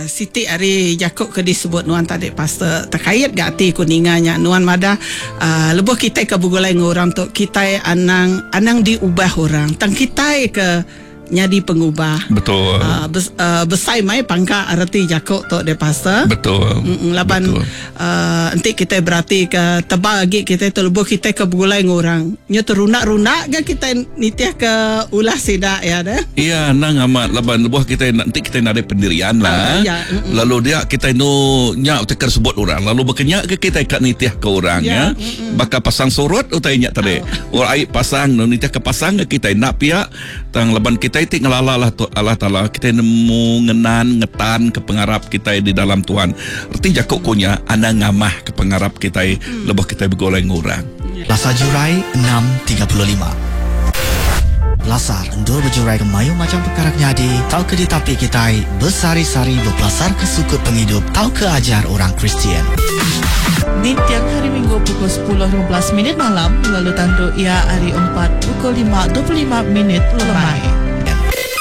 Siti ari jaku ke disebut nuan tadi pastor tekait ga ati ku ninga nya nuan madah uhh lebuh kitai ke begulai enggau orang tu kitai anang anang diubah orang tang kitai ke nyadi pengubah. Betul. Uhh besai mai pangka reti jaku tu deh pastor. Betul. Laban uhh enti kitai berati ke tebal agi kitai tu lebuh kitai ke begulai enggau orang nyu terunda-runda ga kitai nitih ke ulah sida iya deh. Iya endang amat laban lebuh kitai enti kitai nadai pendirian lah lalu dia kitai enu nya utai ke disebut orang lalu baka nya ke kitai ka nitih ke orang ya baka pasang surut utai nya tadi orang ai pasang nitih ke pasang ke kitai enda pia tang laban kitai ti ngelala Allah Allah Taala kitai nemu ngenan ngetan ke pengarap kitai di dalam Tuhan reti jaku ku nya anang ngamah ke pengarap kitai lebuh kitai begulai enggau orang. Lasar Jurai 6:35. Lasar endur bejurai ke mayuh macham pekara ke nyadi tauka ditapi kitai besehari-sehari bepelasarka sukut pengidup tauka ajar orang Kristian. Ninting Hari Minggu pukul 10:15 minit malam lalu tandu iya hari Empat pukul 5:25 minit lemai.